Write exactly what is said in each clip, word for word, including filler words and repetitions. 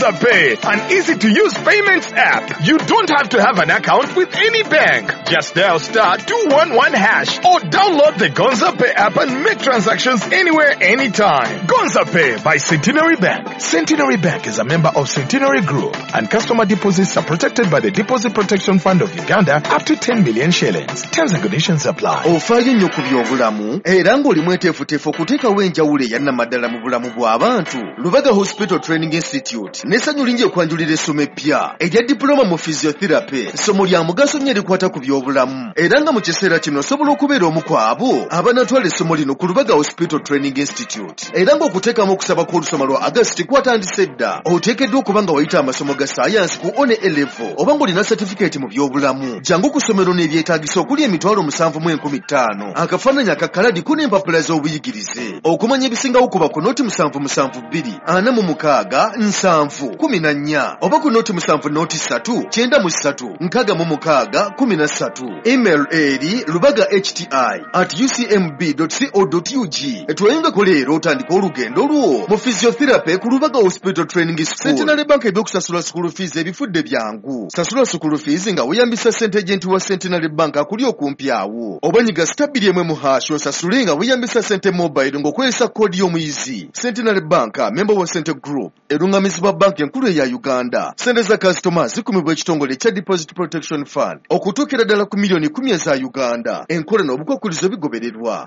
Gonza Pay, an easy-to-use payments app. You don't have to have an account with any bank. Just dial star two one one hash or download the Gonza Pay app and make transactions anywhere, anytime. Gonza Pay by Centenary Bank. Centenary Bank is a member of Centenary Group, and customer deposits are protected by the Deposit Protection Fund of Uganda up to ten million shillings. Terms and conditions apply. Ofaayo nnyo ku by'obulamu era ng'oli mweteefuteefu okuteekawo enjawulo eyannamaddala mu bulamu bw'abantu. Lubaga Hospital Training Institute n'essanyu lingi okwanjulira essomo eppya erya diploma mu physiotherapy. Ssomo lya mugaso nnyo erikwata ku by'obulamu era nga mu kiseera kino osobola okubeera omu ku abo abanaatwala essomo lino ku Lubaga Hospital Training Institute. Era ng'okuteekamu okusaba kw'olusoma lwa August kwatandise dda. Oteekeddwa okuba nga wayita amasomo ga sayansi ku one A level oba ng'olina certificate mu by'obulamu. Jangu ku ssomero n'ebyetaagisa okuli emitwalo musanvu mu enkumi ttaano, akafaananyi akakaladi ku n'empapula z'obuyigirize. Okumanya ebisingawo kuba ku noti musanvu musanvu bbiri ana mu mukaaga nsanvu kumi na nnya oba ku noti musanvu noti ssatu kyenda mu ssatu nkaaga mu mukaaga kumi na ssatu. Email eri lubaga h t i at u c m b co ug. Tweyungeko leero otandika olugendo lwo mu physiotherapy ku Lubaga Hospital Training School. Centenary Bank ebyokusasula school fees ebifudde byangu. Sasula school fees nga weeyambisa sente agent wa Centenary Bank akuli okumpi awo, oba nyiga star bbiri emu emu hash osasule nga weeyambisa sente mobile ng'okozesa koodi y'omuyizi. Centenary Bank, member wa Sente Group, erungamizibwa banki enkulu eya Uganda. Sente za kasitoma zikumibwa ekitongole ekya Deposit Protection Fund okutuukira ddala ku miliyoni kumi eza Uganda. Enkola n'obukwakulizo bigobererwa.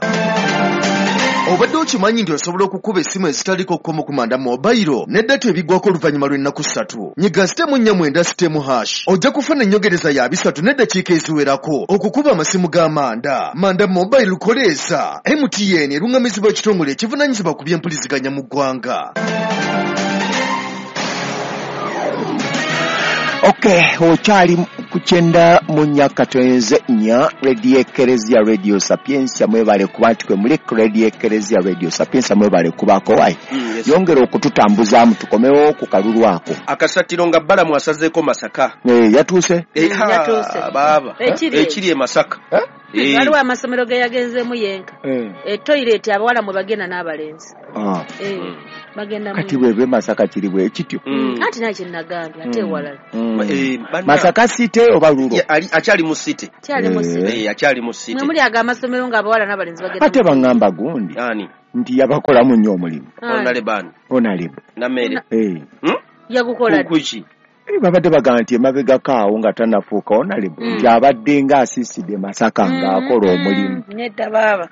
Obadde okimanyi nti osobola okukuba essimu ezitaliko kkomo ku Manda Mobile ne data ebiggwako oluvannyuma lw'ennaku ssatu? Nyiga star nnya mwenda star hash, ojja kufuna ennyongereza ya bisatu n'eddakiika eziwerako okukuba amasimu ga Manda. Manda Mobile, koleeza M T N, erungamizibwa ekitongole ekivunaanyizibwa ku byempuliziganya mu ggwanga. Okay, okyali ku kyenda mu nnya katonze nnya, Radio Ekeresia, Radio Sapiensia. Mwebale kuba nti kwe muli ku Radio Ekeresia, Radio Sapiensia. Mwebale kubaako wayi. Mm, yes. Yongera okututambuzaamu, tukomewo ku kalulu ako. Akasattiro nga Balamu asazeeko Masaka. Eh, yatuuse. Eh, ha, Yatuuse. Baaba. Ekiri ekiri e Masaka. Eh? Eh, waliwo amasomero ge yagenzeemu yenka. Eh. Etoilet abawala mwe bagenda n'abalenzi. Ah. Eh, bagenda mu- Kati bwebe Masaka kiri bwe kityo. Mm. Anti naye kyenagambye ate ewalala. Mm. Eh, banna- Masaka City oba rural? Ya, ali- akyali mu city. Kyali mu Eh. city. Eh, akyali mu city. Mwe muli aga amasomero ng'abawala n'abalenzi bagenda. Ate baŋŋamba gundi Ani? nti yabakolamu nnyo omulimu. Ani? Honorable Honorable. Namere. Eh. Hmm? Yagukola ddi? Kuki? Eh, babadde bagamba nti emabegako awo nga tannafuuka honorable, Mm. nti abadde ng'asiisidde Masaka ng'akola omulimu. Nedda baaba.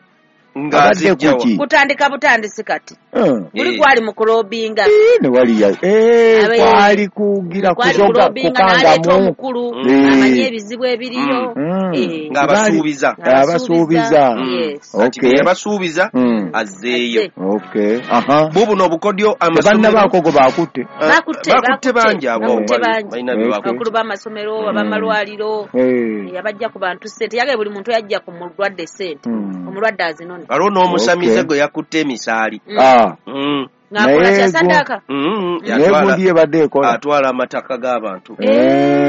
Abadde Ng'azijjawa. kuki? Kutandika butandisi kati. Eh. Buli Eh. kwali mu kulobinga. Eh, ne waliya eh, Abe- kwali kugira kwali kuzoga kulobinga n'aleeta kukangamu. omukulu Eh. amanye ebizibu ebiriyo. Mm. Eh. Ng'abasuubiza. Abasuubiza. Mm. Yes. Kati Okay. bye yabasuubiza Mm. azzeeyo. Azze. Okay, aha. Bubuno obukodyo amasomero. Tebannabaako gwe bakutte. Ah, Bakutte, bakutte bakutte. bangi abo. Bakutte bali- bangi. Balina bye Okay. bakutte. Abakulu b'amasomero, ab'amalwaliro. Eh. Yabajja ku bantu sente, yagaye buli muntu yajja ku mulwadde sente, Mm. omulwadde azinone. Waliwo n'omusamize Okay. gwe yakutte emisaali. Mm. Ah, Mm. Ng'akola Naye kya gu- saddaaka. Mm. naye Yatwala gundi yebadde ekola. Atwala amataka g'abantu. Eh.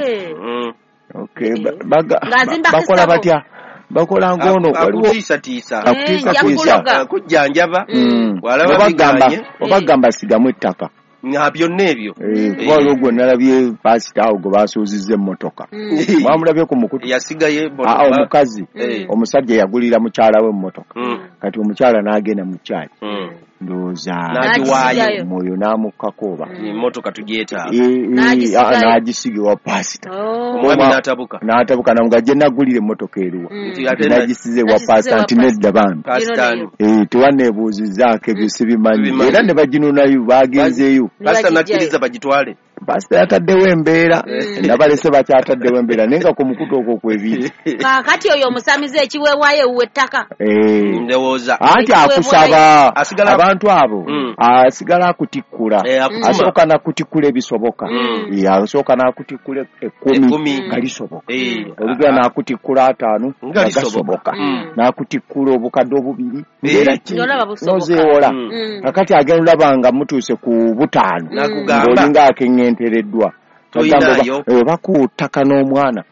Eh. Mm. Okay, ba- baga- Ng'azimbako bakola essabo. batya? Bakola ng'ono waliwo Akutiisatiisa. akutiisatiisa. Eh, nja Kujjanjaba. Mm. Bw'alaba Oba gamba biganye. oba gamba sigamu ettaka. Nga byonna ebyo. Eh, kuba waliwo gwe nalabye pasita awo gwe basuuzizza emmotoka. Mm. Mwamulabye ku mukutu? Yasigaye. Aa, omukazi, Eh. omusajja yagulira mukyala we emmotoka. Mm. Kati omukyala n'agenda mu kyaki, Mm. ndowooza N'agiwaayo. omwoyo n'amukkako oba Emmotoka tugyetaaga. Eh, eh, N'agisigayo. ah, n'agisiga ewa pasita. Oh. Omwami Oba- n'atabuka. N'atabuka namuga gye nagulira emmotoka eruwa? Mm. Nti ate Nti nagisize ewa Nagisize pasita. ewa Nti pasita. nedda bambi. Pasita ani? Eh, tewanneebuuzizzaako ebyo, sibimanyi. Sibimanyi. Era ne baginunayo, bagenzeeyo. Ne Pasita bagijjayo. n'akkiriza bagitwale. Pasita yataddewo embeera. Mm. Nabalese bakyataddewo embeera, naye nga ku mukutu okwo kwebiri. Kaakati oyo omusamize ekiweebwayo ewuwe ettaka. Eh. Ndowooza Anti akusaba Asigala- abantu abo, Mm. asigala akutikkula. Eh, akutuma. Asooka nakutikkula ebisoboka. Mm. Eh, asooka nakutikkula ekkumi Ekkumi. nga lisoboka. Eh, olugera ah, nakutikkula ataano nga nga lisoboka. gasoboka. Mm. Nakutikkula obukadde obubiri Eh. era ki Ng'olaba busoboka. nozeewola. Mm. Mm. Kakati agenda olaba nga mutuuse ku butaano, Nakugamba ng'olinga akeŋŋentereddwa. Toyinaayo. Agamba oba- eh, oba ku ttaka n'omwana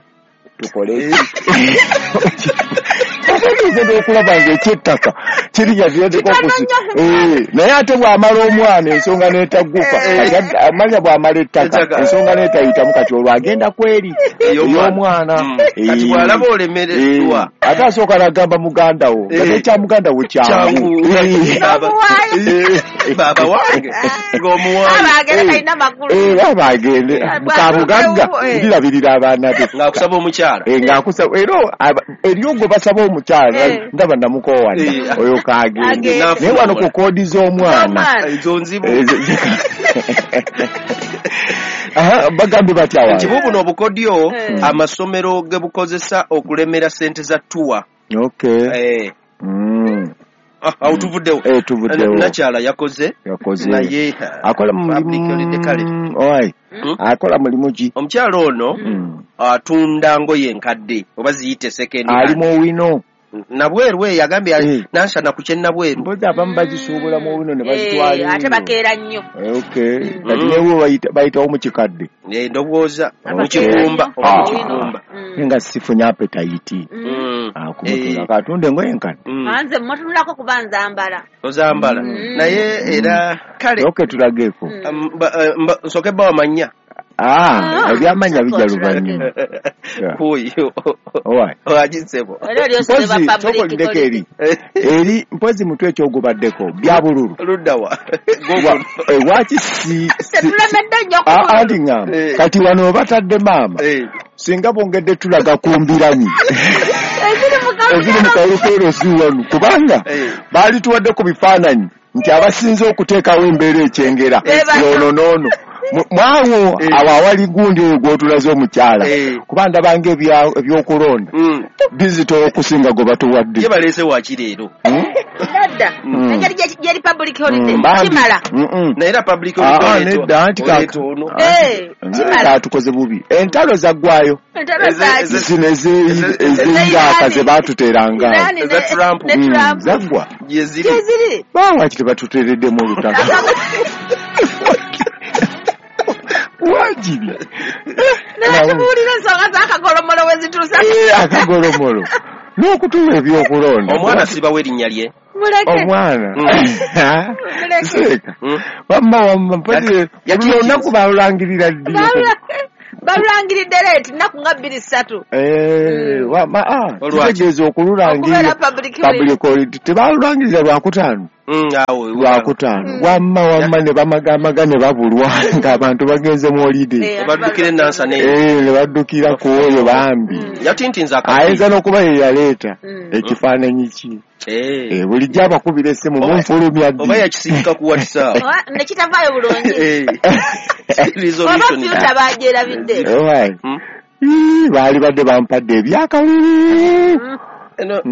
tukole ki? Kati okulaba ng'ekyettaka kirinya naye ate bw'amala omwana ensonga n'etagguka amanya bw'amala ettaka ensonga n'etayitamu kati olwo agenda kweri ey'omwana kati bw'alaba olemereddwa ate asooka n'agamba muganda wo nga nekya muganda wo kyangu baaba wange ng'omuwange baaba agende kabugagga ndirabirira abaana be ng'akusaba omukyala ng'akusaba era eriyo gwe basaba omukyala ndaba namukoowanya oyo kagende naye wano ku koodi z'omwana ezo nzibu bagambye batya wano nti bubuno obukodyo amasomero ge bukozesa okulemera ssente za tuwa. Okay. Awo tuvuddewo nakyala yakoze naye akola mulimu akola mulimu ki omukyala ono atunda ngoye enkadde oba ziyite second hand ali mu wino nabweru eyo agambye nansana ku kyennabweru mpozi abamu bagisuubula mu wino ne bazitwala ate bakeera nnyo. Okay kati newo bayitawo mu kikadde ndowooza mu kigumba oba mu kigumba nga sifunye appetite akumutula katunde engoye enkadde nze mmutunulako kuba nzambala ozambala naye era kale okay tulageeko nsooke bba wamanya Ah, ebyamanya bijja luvannyuma. Kuyo. Owagisebo. Mpozi tokolindeko eri. Eri mpozi mutwe ekyogubaddeko bya bululu. Luddawa. Waki si tetulemedde nnyo ku bululu. Anti ngamba kati wano batadde maama. Singa bongedde tulaga ku mbiranyi. Eziri mu kalulu si wano kubanga baali tuwadde ku bifaananyi nti abasinze okuteekawo embeera ekyengera noono noono. Mwawo awo awali gundi oyo gw'otulaze omukyala kuba ndabanga ebyokulonda bizitowa okusinga gwe batuwadde. Ye baleese waki leero? Nedda engeri gyeri public holiday kimala. Naye era public holiday nedda anti katukoze bubi entalo zaggwayo zino ez'Iraq ze baatuteeranga zaggwa gyeziri bawaki tebatuteereddemu olutalo wajiri natubuulira ensonga z'akagolomolo we zituusa akagolomolo n'okutuwa ebyokulonda omwana sibawo erinnya lye omwana seeka wamma wamma mpozzi buli lunaku balulangirira ddi balulangiridde leeti nnaku nga bbiri ssatu kitegeeza okululangirira public holiday tebalulangirira lwakutaano lwakutaano wamma wamma ne bamagamaga ne babulwa ng'abantu bagenze mu holiday baddukira enansana ne baddukira ku oyo bambi ayinza n'okuba ye yaleeta ekifaananyi ki bulijjo abakubira essimu munfulumya ddi oba yakisindika ku WhatsApp ne kitavaayo bulungi oba fyuta bagyerabidde baali badde bampadde ebyakalulu eno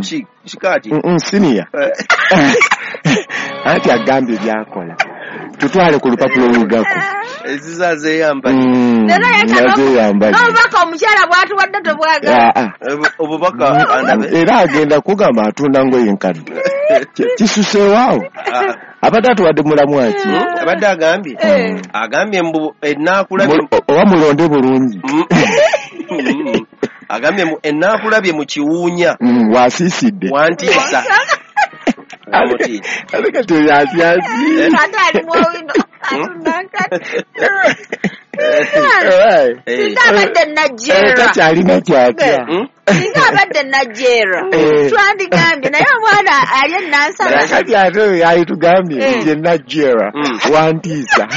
ki kikaati siniya anti agambye byakola tutwale ku lupapula oluddako ezizazeyambali n'obubaka omukyala bw'atuwadde tobwagala obubaka era agenda kugamba atunda ngoye enkadde kisuseewaawo abadde atuwadde mulamu aki abadde agambye agambye mbu enaakulabye oba mulonde bulungi agambye mbu enaakulabye mu kiwuunya wasiisidde wantiisa ate kati oyo atyasi ate ali mwowino atunda nkadde singa abadde Nigeria takyalina kyatya singa abadde Nigeria twandigambye naye omwana ali enansana kati ate oyo yalitugambye nti Nigeria wantiisa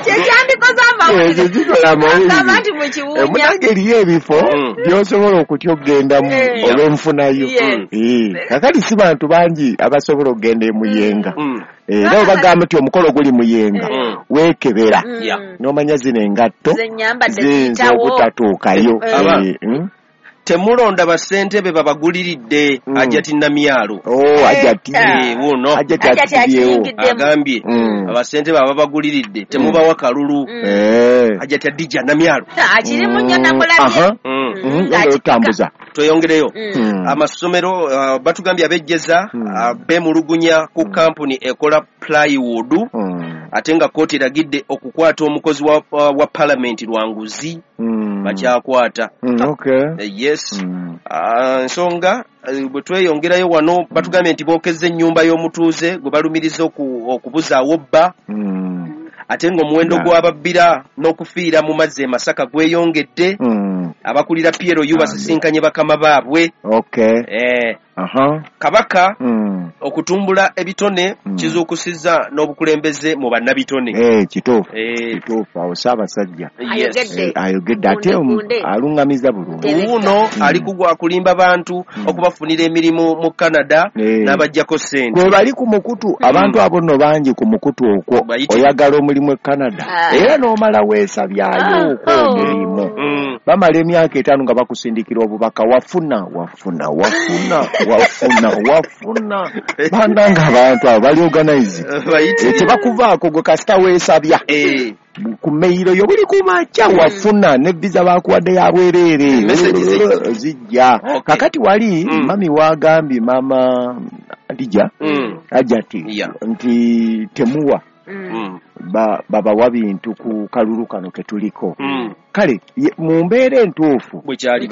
Kyandikoze amawulire kikola amawulire nti mu kiwunya munange eriyo ebifo by'osobola okutya okugendamu olw'enfunayo kakati si bantu bangi abasobola okugenda emuyenga era obagamba nti omukolo guli muyenga weekebera n'omanya zino engatto ziyinza obutatuukayo. Temulonda bassentebe babaguliridde Hajati Namyalo. Oh, Hajati. Wuno. Hajati akibyewo. Agambye abassentebe ababaguliridde temubawa kalulu. Hajati Adija Namyalo. Akirimu nnyo namulabye. Otambuza. Tweyongereyo. Amasomero batugambye ab'ejjeza beemulugunya ku kampuni ekola plywood. Ate nga kkooti eragidde okukwata omukozi wa, wa palamenti lwanguzi. Mm. Bakyakwata. Mm, okay. Yes. Mm. Ensonga bwe tweyongerayo wano batugambye nti bookezza ennyumba y'omutuuze gwe balumiriza okubuzaawo bba. Mm. Ate ng'omuwendo gw'ababbira n'okufiira mu mazzi e Masaka gweyongedde. Mm. Abakulira P L U basisinkanye bakama baabwe. Okay. Eh. Aha. Kabaka mm. okutumbula ebitone mm. kizuukusizza n'obukulembeze mu bannabitone. Eh, kituufu. Eh. Kituufu awo Ssaabasajja. Yes. Eh, ayogedde ate alungamiza bulungi. Wuuno mm. ali kugwa kulimba bantu mm. okubafunira emirimu mu Canada eh. n'abaggyako ssente. Kwe bali ku mukutu mm. abantu abo nno bangi ku mukutu okwo. Oyagala omulimu e Canada. Ah. Era n'omala weesabyayo okwo oh. omulimu. Mm. Bamala emyaka etaano nga bakusindikira obubaka wafuna wafuna wafuna wafuna wafuna bananga abantu abo bali organize tebakuvaako gwe kasita weesabya eh. ku meyiro yo buli kumakya wafuna ne visa bakuwadde ya bwereere zijja. Okay. Kakati wali mm. mami wagambye mama Adija mm. Ajati yeah. nti temuwa mm. ba babawa bintu ku kalulu kano ketuliko. Mm. Kale mu mbeera entuufu bwe kyali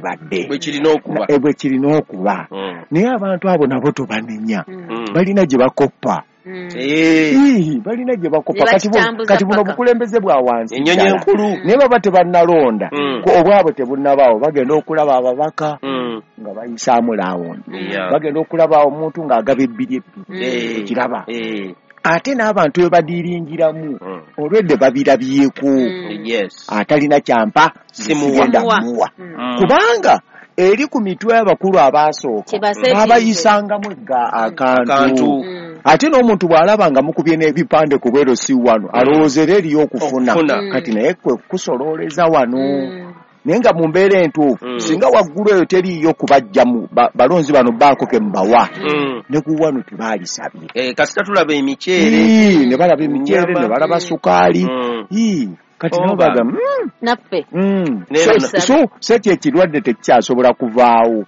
badde bwe kirina okuba bwe kirina okuba mm. naye abantu abo nabo tobanenya mm. balina gye bakoppa. Mm. Eh, balina gye bakoppa kati kati buno bukulembeze bwa wansi ennyonyi enkulu naye baba tebannalonda mm. obwabwe tebunnabaawo bagenda okulaba ababaka mm. nga bayisaamu laawundi yeah. bagenda okulaba omuntu ng'agaba ebbiri ebbiri mm. ekiraba eh. ate n'abantu we badiringiramu mm. olwedde babirabyeko mm. yes. atalina kyampa sigenda muwa mm. kubanga eri ku mitwe abakulu abaasooka babayisangamu akantu mm. ate n'omuntu bw'alaba nga mukubye n'ebipande ku bwero si wano alowooza era eriyo okufuna kati naye kwe kusololeza wano mm. naye nga mu mbeera entuufu mm. singa waggulu eyo teriiyo kubajjamu balonzi bano baako ke mubawa mm. ne ku wano tebaalisabye eh, kasita tulaba emiceere ne balaba emiceere ne balaba sukaali mm. kati nabo bagamba mm. naffe mm. so, so so kye ekirwadde tekikyasobola kuvaawo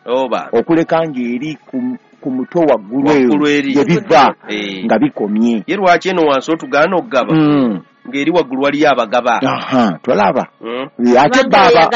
okuleka ng'eri ku ku mutwe waggulu eyo gye biva eh. nga bikomye ye lwaki eno wansi otugaana okugaba mm. ng'eri waggulu waliyo abagaba aha tolaba mm. ate baba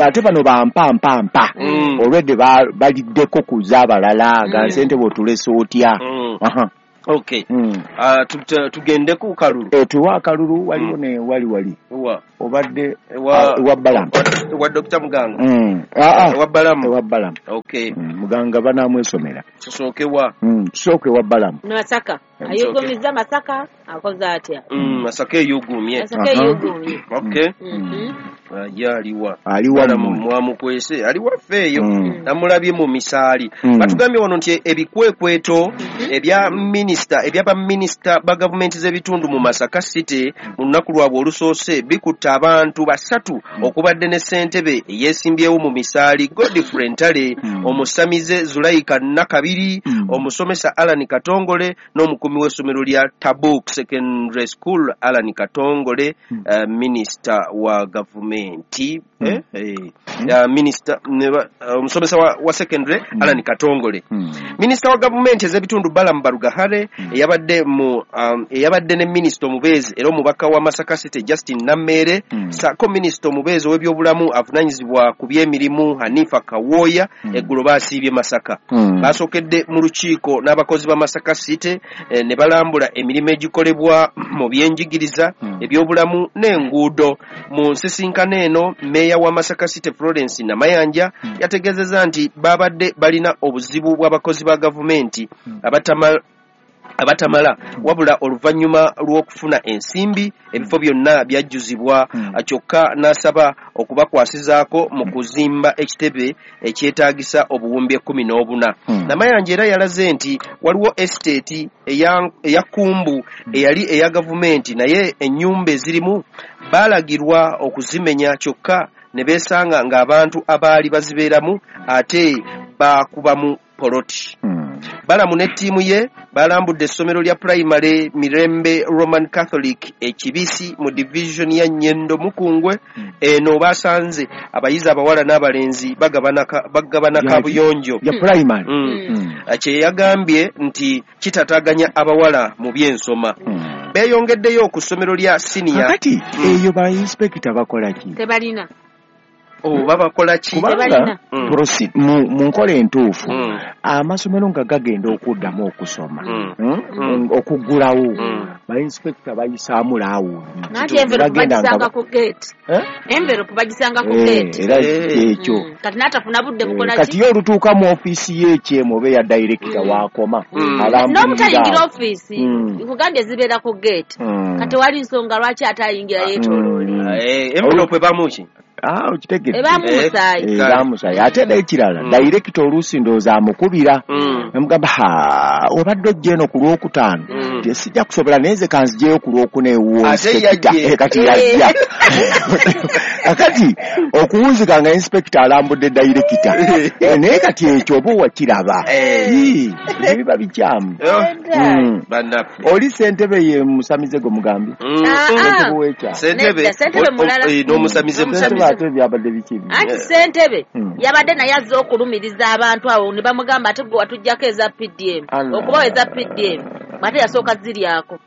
ate bano bampa mpa mpa mm. olwedde baliddeko ku z'abalala ga mm. ssente bw'otulese otya mm. aha okay mm. uh, tugende ku kalulu e, tuwa akalulu waliwo mm. ne wali wali wa obadde wa wa Balamu wa Doctor Muganga mm. ah, ah. wa Balamu wa Balamu okay mm. Muganga banamwesomera tusooke wa mm. tusooke wa Balamu Masaka ayugumizza Masaka akoze atya mm, Masaka eyugumye Masaka eyugumye okay mm -hmm. ye aliwa aliwa mwamukwese aliwa ffeeyo mm. namulabye mu misaali mm. batugambye wano nti ebikwekweto mm -hmm. ebya minisita ebya baminisita ba gavumenti z'ebitundu mu Masaka City mu lunaku lwabwe olusoose bikutta abantu basatu mm. okubadde ne ssentebe eyeesimbyewo mu misaali Godfrey Ntale mm. omusamize Zulaika Nakabiri mm. omusomesa Alan Katongole n'omukuumi w'essomero lya Tabuk Secondary School Alan Katongole mm. uh, minisita wa gavumenti mm. eh, eh, mm. uh, minisita omusomesa uh, wa, wa secondary mm. Alan Katongole mm. minisita wa gavumenti ez'ebitundu Balaam Barugahare mm. eyabadde mu um, eyabadde ne minisita omubeezi era omubaka wa Masaka City Justin Nammeere mm. ssaako minisita omubeezi ow'ebyobulamu avunaanyizibwa ku by'emirimu Hanifa Kawooya mm. eggulo baasiibye Masaka mm. baasookedde mu lukiiko n'abakozi ba Masaka City eh, ne balambula emirimu egikolebwa mu byenjigiriza mm. ebyobulamu n'enguudo mu nsisinkano eno meeya wa Masaka City Florence Namayanja mm. yategeezezza nti babadde balina obuzibu bw'abakozi ba gavumenti mm. abatama abatamala wabula oluvannyuma lw'okufuna ensimbi ebifo byonna byajjuzibwa mm. kyokka n'asaba okubakwasizaako mu kuzimba ekitebe ekyetaagisa obuwumbi ekkumi n'obuna mm. Namayanja era yalaze nti waliwo esiteeti eya, eya Kumbu eyali eya gavumenti naye ennyumba ezirimu baalagirwa okuzimenya kyokka ne beesanga ng'abantu abaali bazibeeramu ate baakubamu poloti mm. Balamu ne ttiimu ye balambudde essomero lya Primary Mirembe Roman Catholic e Kibisi mu division ya Nyendo Mukungwe mm. eno basanze abayizi abawala n'abalenzi bagabana bagabana kabuyonjo ya primary mm. mm. kye yagambye nti kitataaganya abawala mu byensoma mm. Beeyongeddeyo ku ssomero lya senior. Kakati eyo ba inspector bakola ki? Tebalina. Oba bakola ki? Kubanga mu nkola entuufu amasomero nga gagenda okuddamu okusoma okuggulawo ba inspector bayisaamu laawundi. Anti envelope bagisanga ku gate. Envelope bagisanga ku gate. Era ekyo. Kati n'atafuna budde bukola ki? Kati ye olutuuka mu ofiisi y'ekyemu oba eya director waakoma. N'obutayingira ofiisi nkugambye zibeera ku gate. Kati wali nsonga lwaki ate ayingira yeetooloole. Envelope ebaamu ki? Ah, okitegedde. Ebaamu musaayi. Ebaamu musaayi. Ate n'ekirala director oluusi ndowooza amukubira namugamba ha obadde ojja eno ku lwokutaano sijja kusobola naye nze kanzijeyo ku lwokuna ewuwo inspector. Kati yajja. Kakati okuwunzika nga inspector alambudde director naye kati ekyo oba wakiraba ebyo biba bikyamu. Oli ssentebe ye musamize gwe mugambye. Ssentebe w'ekyalo. Ssentebe n'omusamize musamize. Ate byabadde biki? Anti ssentebe yabadde naye azze okulumiriza abantu abo ne bamugamba ate gwe watuggyako eza P D M okubawa eza P D M ate yasooka ziryako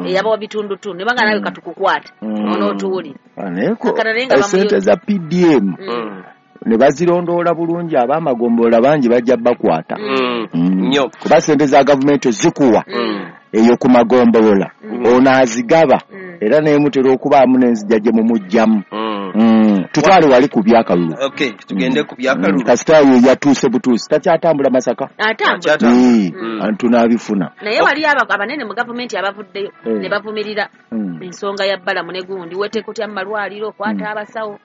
eyabawa bitundutundu ne banga nawe katukukwate onootuwulira. Essente za P D M ne bazirondoola bulungi ab'amagombolola bangi bajja bakwata nnyo kuba ssente za gavumenti zikuwa eyo ku magombolola ono azigaba era naye mutera okubaamu n'enzija gye mumugjamu. Tutwale wali ku byakalulu. Okay, tugende ku byakalulu. Kasita ye yatuuse butuusi takyatambula Masaka. Atambula. Tunaabifuna. Naye wali abanene mu gavumenti abavuddeyo ne bavumirira ensonga ya Balamu ne gundi weteeka otya mu malwaliro okwata abasawo.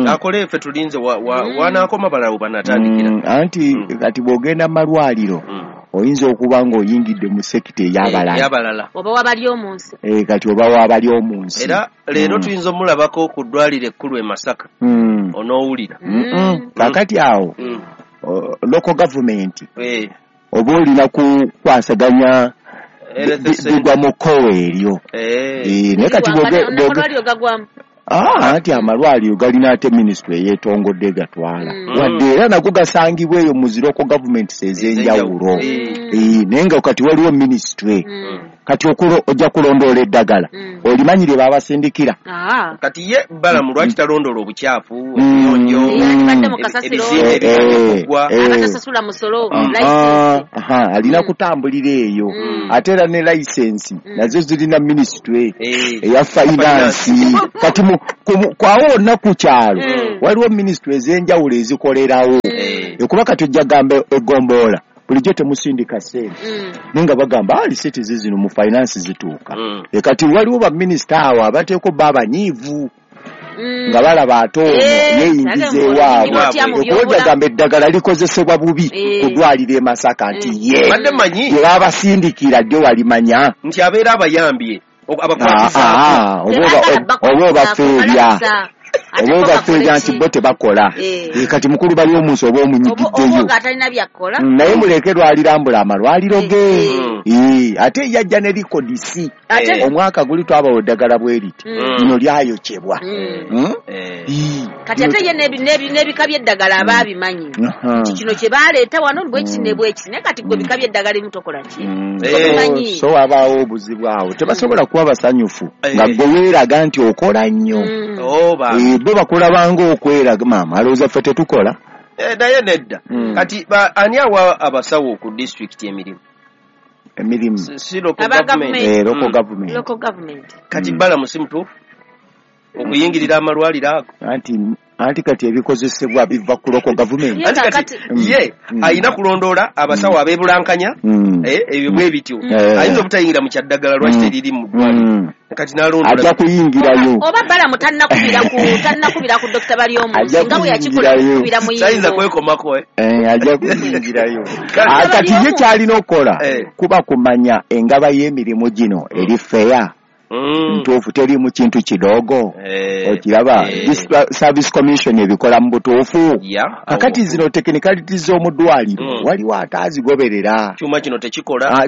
Akole ffe tulinze wanaakoma balawo banatandikira. Anti kati bw'ogenda mu malwaliro oyinza okuba ng'oyingidde mu sekita ey'abalala oba wabali omunsi. Eh, kati oba wabali omunsi. Era leero tuyinza omulabako ku ddwaliro ekkulu e Masaka onoowulira. Kakati awo local government oba olina kukwasaganya bigwa mu kkowe eryo. Naye kati amalwaliro gagwamu. Ah, anti amalwaliro galina ate minisitule eyeetongodde gatwala wadde era nago gasangibwa eyo mu zi local governments ez'enjawulo. Naye nga kati waliwo minisitule kati ojja kulondoola eddagala olimanyi lye babasindikira. Kati ye Balamu lwaki talondoola obukyafu ebiyonjo ebizimbe ebigwa abatasasula musolo license? Alina kutambulira eyo ate era ne license nazo zirina minisitule eya finance. Kati kwawo wonna ku kyalo waliwo minisitule ez'enjawulo ezikolerawo ekuba kati ojja gamba eggombolola bulijjo temusindika ssente naye nga bagamba lisiti zino mu finance zituuka. Kati waliwo baminisita awo abateeko bo abanyiivu nga balaba ate ono yeeyingiza ewaabwe okuba ojja gamba eddagala likozesebwa bubi ku ddwaliro e Masaka nti ye lye babasindikira ddyo walimanya nti abeera abayambye abakwatizaako oba obafeebya oba obafeebya nti bo tebakola. Kati mukulu bali omunsi oba omunyigiddeyo naye muleke lwalirambula amalwaliro ge. Ate yajja ne likodisi omwaka guli twabawa eddagala bwe riti lino lyayokyebwa. Kati ate ye n'ebika by'eddagala aba abimanyi nti kino kye baleeta wano bwekiti ne bwekiti naye kati gwe bika by'eddagala ebimu tokola ki? So wabaawo obuzibu awo tebasobola kuba basanyufu nga gwe weeraga nti okola nnyo. Bo bakulabanga okweraga maama alowooza ffe tetukola. Naye nedda. Kati ani awa abasawo ku disitulikiti emirimu? Emirimu si local government. Local government. Kati Balamu si mutuufu okuyingirira amalwaliro ago? Anti anti kati ebikozesebwa biva ku local government. Anti kati ye alina kulondoola abasawo abeebulankanya ebyo bwe bityo ayinza obutayingira mu kyaddagala lwaki teriri mu ddwaliro kati n'alondoola ajja kuyingirayo. Oba Balamu tannakubira ku tannakubira ku Dokita Baryomunsi nga bwe yakikola okukubira Muyingo tayinza kwekomako ajja kuyingirayo. Kati ye ky'alina okukola kuba kumanya engaba y'emirimu gino eri fair. Ntuufu teriimu kintu kidogo. Okiraba Service Commission ebikola mu butuufu. Kakati zino technicalities z'omu ddwaliro waliwo ataazigoberera. Kyuma kino tekikola.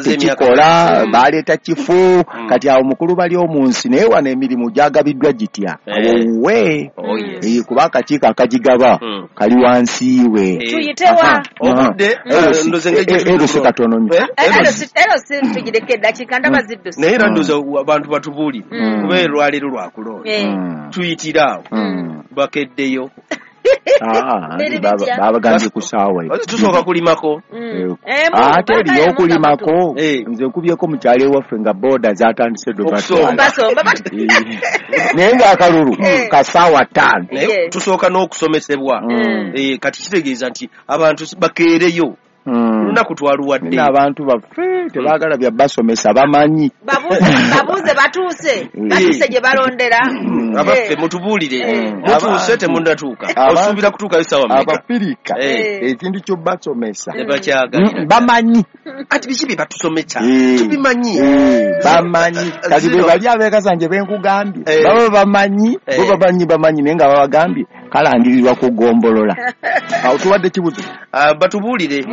Tekikola baleeta kifu kati awo mukulu bali omunsi naye wano emirimu gyagabiddwa gitya awo we kuba akakiiko akagigaba kali wansi we. Tuyitewa obudde erusi katono nnyo. Erusi tugireke eddakiika ndaba zidduse. Naye era ndowooza abantu batubuulire kuba olwaleero lwakulonda tuyitire awo bakeddeyo. Babagambye ku ssaawa tusooka kulimako ate eriyo okulimako. Nze nkubyeko mu kyalo ewaffe nga booda zatandise ddo naye ng'akalulu ka ssaawa ttaano. Naye tusooka n'okusomesebwa kati kitegeeza nti abantu bakeereyo olunaku twaluwadde. Abantu baffe tebaagala bya basomesa bamanyi. Babuuze batuuse batuuse gye balondera. Abaffe mutubuulire mutuuse temunnatuuka osuubira kutuukayo ssaawa mmeka? Abafirika ekintu kyo basomesa tebakyagalira bamanyi. Ati biki bye batusomesa tubimanyi bamanyi. Kati be bali abeekasanje benkugambye baba bamanyi bo bamanyi bamanyi naye nga babagambye kalangirirwa ku ggombolola. Awo tuwadde kibuzo batubuulire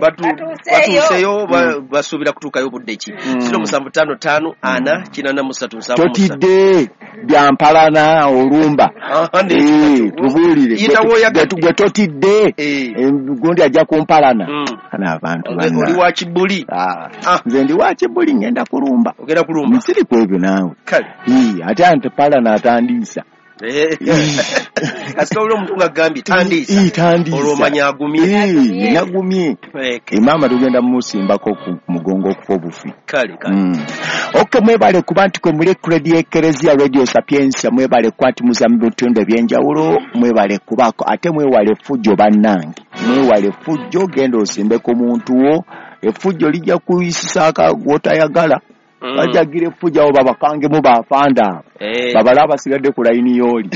batuuseyo basuubira kutuukayo budde ki? Ziro musanvu ttaano ttaano ana kinaana mu ssatu nsanvu mu ssatu. Totidde byampalana olumba tubuulire gwe totidde gundi ajja kumpalana. Kana abantu oli wa kibuli. Nze ndi wa kibuli ngenda kulumba. Ogenda kulumba nsiri ku ebyo naawe. Ate antipalana atandiisa. Kasita olwo omuntu ng'agambye tandiisa olwo omanya agumye. Nagumye emaama tugenda mumusimbako ku mugongo okufa obufi. Kale kale ok mwebale kuba nti kwe muli Radio Ekereziya Radio Sapientia mwebale kuba nti muza mu bitundu ebyenjawulo mwebale kubaako ate mwewale effujjo bannange mwewale effujjo genda osimbe ku muntu wo effujjo lijja kuyisisaako gw'otayagala. Bajagira effujjo abo babakangemu bafanda babala abasigadde ku layini y'oli.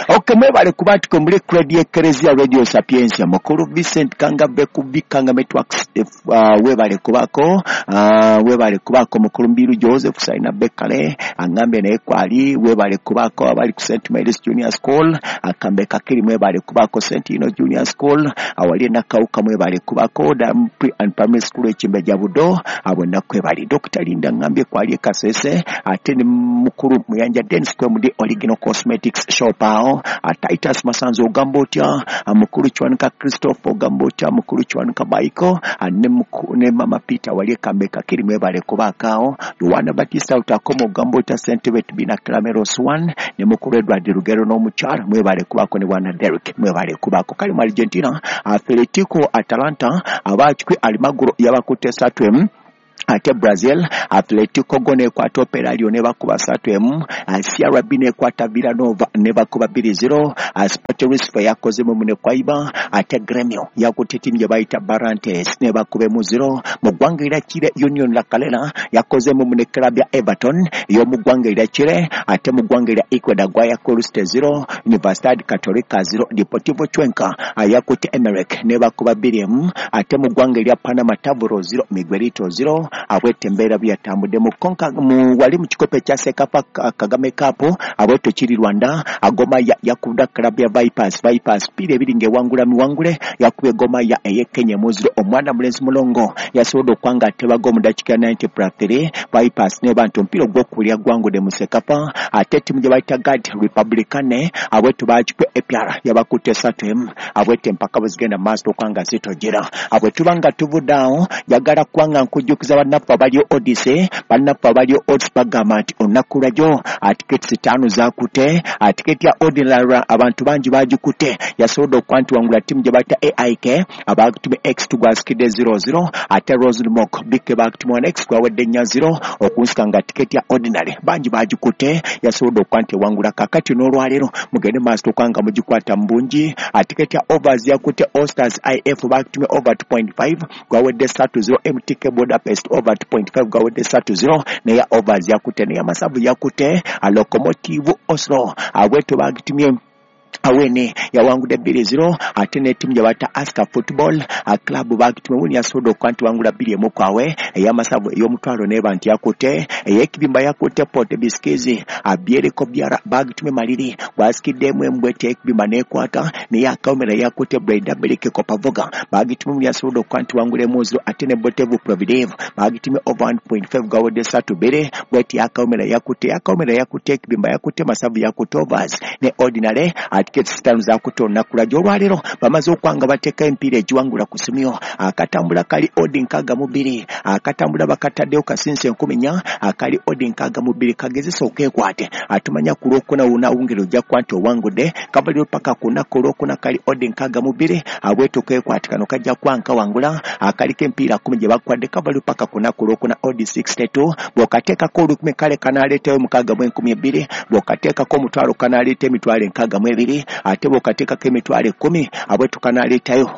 Ok mwebale kuba nti kwe muli Radio Ekereziya Radio Sapientia mukulu Vincent Kangabbe ku Bikanga Networks webale kubaako webale kubaako mukulu Mbiru Joseph Saina Bekale angambye naye kwali webale kubaako abali ku Saint Mary's Junior School akambe kakiri mwebale kubaako Saint Ino Junior School awali Nakawuka mwebale kubaako Dam Pre and Primary School Ekimbejja Budo abo nakwebali Doctor Linda ngambye kwali Kasese ate ne mukulu Muyanja Dennis Kwemudi Original Cosmetics Shop awo Titus Masanzo ogamba otya mukulu Kiwanuka Christopher ogamba otya mukulu Kiwanuka Baiko ne Mama Peter wali Kambe Kakiri mwebale kubaako awo Yohana Batista utakoma ogamba otya Sentebet Bina Clameros one ne mukulu Edward Rugero n'omukyala mwebale kubaako ne Bwana Derrick mwebale kubaako kali mu Argentina Atletico Atalanta abakikwe Almagro yabakutte ssatu emu ate Brazil Atletico go nekwata Operário ne bakuba ssatu emu C R B nekwata Villanova ne bakuba bbiri zero Sport Recife yakozemu ne Kwaiba ate Grêmio yakutte ttiimu gye bayita Barrantes ne bakuba emu zero mu ggwanga erya Chile Union La Calera yakozemu ne club ya Everton ey'omu ggwanga erya Chile ate mu ggwanga erya Ecuador Guayaquil City zero Universidad Católica zero Deportivo Cuenca yakutte Emelec ne bakuba bbiri emu ate mu ggwanga erya Panama Taburo zero Miguelito zero abwete embeera byatambudde mu konka mu wali mu kikopo ekya Sekafa Kagame Cup abweto kiri Rwanda agoma ya yakubda club ya Vipers Vipers pire ebiri ngewangula miwangule yakubye Goma ya eye Kenya muziro omwana mulenzi mulongo yasobodde okwanga atebaga mu dakiika ninety plus three Vipers ne bantu omupiira ogw'okubiri gwangudde mu Sekafa ate ttiimu gye bayita Guard Republicane abweto baakikwe A P R yabakutte ssatu emu abwete empaka bwe zigenda mu maaso okwanga zitojera abwe tuba nga tuvudde awo njagala kubanga nkujjukiza bannaffe abali Odyssey bannaffe abali Odds bagamba nti olunaku lwajjo tiketi ttaano zaakute tiketi ya Ordinary abantu bangi bagikute yasobodde okuba nti wangula ttiimu gye bayita A I K abakutume X two gwasikidde zero zero ate Rosenmok B K bakutume one X gwawadde nnya zero okunsika nga tiketi ya Ordinary bangi bagikute yasobodde okuba nti ewangula kakati n'olwaleero mugende maaso okuba nga mugikwata mu bungi tiketi ya Overs yakute All Stars I F bakutume over two point five gwawadde ssatu zero M T K Budapest over two point five gawedde ssatu zero neya Overs yakute neya Masavu yakute Lokomotiv Oslo abweto bagitumye Awene yawangudde bbiri zero ate ne ttiimu gye bayita Aska Football Club bagitume wini yasobodde okuba nti wangula bbiri emu kwawe. Ey'amasavu ey'omutwalo n'eba nti yakutte ey'ekibimba yakutte Port Biskizi abyereko byara bagitume maliri gwasikiddemu embwete ekibimba n'ekwata naye akawomera yakutte Breda Bereke Kopavoga bagitume wini yasobodde okuba nti wangula emu zero ate ne Botevu Providev bagitume over one point five gawedde ssatu bbiri bweti akawomera yakutte akawomera yakutte ekibimba yakutte masavu yakutte overs ne ordinary ate sitaano zakutte olunaku lwajjo olwaleero bamaze okwanga bateeka empiira egiwangula ku ssomero. Akatambula kali odi nkaaga mu bbiri akatambula bakataddeyo kasinsi enkumi nnya akali odi nkaaga mu bbiri kagezesa okeekwate atumanya ku lwokuna wunawungero ojja kuba nti owangudde kabaliro paka ku lunaku olwokuna kali odi nkaaga mu bbiri abweto keekwate kano kajja kuba nkawangula akaliko empiira kkumi gye bakwadde kabaliro paka ku lunaku olwokuna odi sixty two bw'okateekako olukumi kale kanaaleetayo mukaaga mu enkumi ebbiri bw'okateekako omutwalo kanaaleeta emitwalo enkaaga mu ebiri ate bw'okateekako emitwalo ekkumi abwetu kanaaleetayo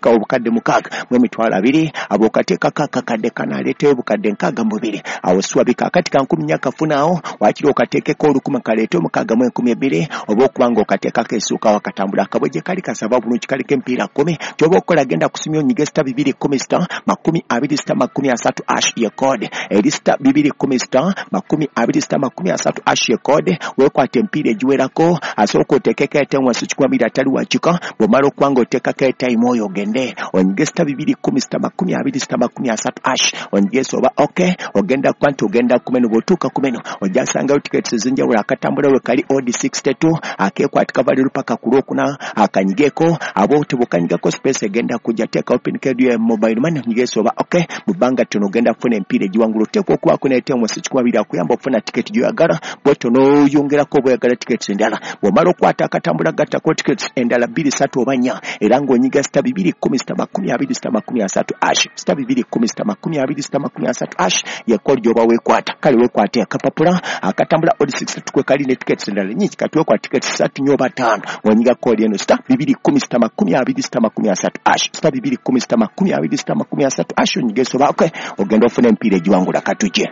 obukadde mukaaga mu emitwalo abiri abw'okateekako akakadde kanaaleetayo obukadde nkaaga mu bubiri awo siwabika akati ka nkumi nnya kafunaawo waakiri okateekeko olukumi kaleete omukaaga mu enkumi ebbiri oba okuba ng'okateekako essuuka wakatambula akabweje kali kasaba bulungi kaliko empiira kkumi ky'oba okukola genda kusimya onyige sita bibiri kkumi sita makumi abiri sita makumi asatu ash ye code eri sita bibiri kkumi sita makumi abiri sita makumi asatu ash ye code weekwate empiira egiwerako asooka oteekeko etenwansi kikumi abiri atali wakika bw'omala okuba ng'oteekako etayimu oyo ogende onyige sita bibiri kkumi sita makumi abiri sita makumi asatu ash onyigesa oba ok ogenda kuba nti ogenda ku menu bw'otuuka ku menu ojja sangayo tiketi ez'enjawulo akatambula we kali odi sixty two akeekwata kavaliro paka ku lwokuna akanyigeko abo tebukanyigako space egenda kujja teekawo pin code ya mobile money onyigesa oba ok mu bbanga ttono ogenda kufuna empiira egiwangula oteekwa okubaako n'etenwansi kikumi abiri akuyamba okufuna tiketi gy'oyagala bwetyo n'oyongerako oba oyagala tiketi endala bw'omala okwata akatambula gattako tiketi endala bbiri ssatu oba nnya era ng'onyiga sita bibiri kkumi sita makumi abiri sita makumi asatu ash sita bibiri kkumi sita makumi abiri sita makumi asatu ash ye kodi gy'oba weekwata kale weekwate akapapula akatambula odi sixty two kwe kali ne tiketi endala nnyingi kati weekwata tiketi ssatu nnyo oba ttaano ng'onyiga kodi eno sita bibiri kkumi sita makumi abiri sita makumi asatu ash sita bibiri kkumi sita makumi abiri sita makumi asatu ash onyigesa oba ok ogenda ofuna empiira egiwangula katujje.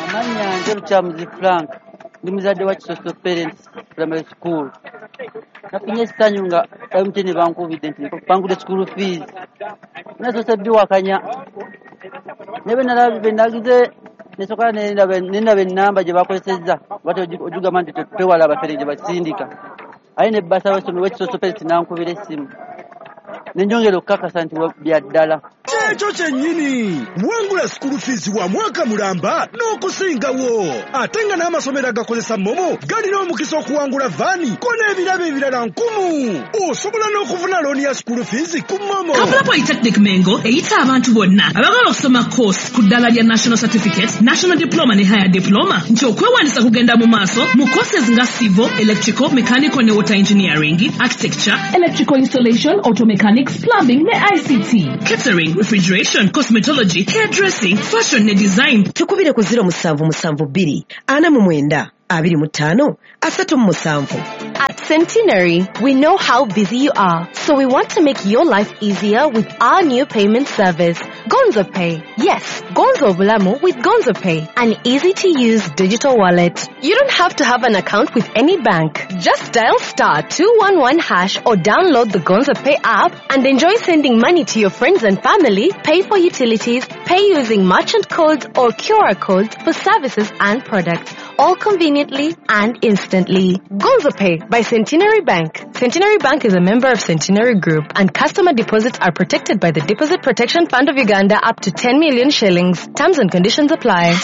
Amannya nze Lukyamuzi Frank ndi muzadde wa Kisoso Parents Primary School. Nafunye essanyu nga M T N bankubidde nti bangudde school fees. Nasoose biwakanya naye bwe nalabye bwe nagize nesooka nendaba ennamba gye bakozesezza bate ogigamba nti twewala abafere gye basindika aye ne bbasa w'essomero w'Ekisoso Parents n'ankubira essimu ne njongera okukakasa nti bya ddala. Ekyo kyennyini wangula school fees wa mwaka mulamba n'okusingawo ate nga n'amasomero agakozesa MoMo galina omukisa okuwangula vaani ko n'ebirabo ebirala nkumu. Osobola n'okufuna looni ya school fees ku MoMo. Kampala Polytechnic Mengo eyita abantu bonna abagala okusoma course ku ddala lya National Certificate, National Diploma ne Higher Diploma nti okwewandiisa kugenda mu maaso mu courses nga civil, electrical, mechanical ne water engineering, architecture, electrical installation, auto mechanics, plumbing ne I C T, catering, refrigeration, cosmetology, hairdressing, fashion ne design. Tukubire ku zero musanvu musanvu bbiri ana mu mwenda abiri mu ttaano asatu mu musanvu. At Centenary, we know how busy you are, so we want to make your life easier with our new payment service, Gonzo Pay. Yes, Gonzo Bulamu with Gonzo Pay, an easy-to-use digital wallet. You don't have to have an account with any bank. Just dial star two one one hash or download the Gonzo Pay app and enjoy sending money to your friends and family, pay for utilities, pay using merchant codes or Q R codes for services and products, all conveniently and instantly. Gonzo Pay by Centenary Bank. Centenary Bank is a member of Centenary Group, and customer deposits are protected by the Deposit Protection Fund of Uganda up to ten million shillings. Terms and conditions apply.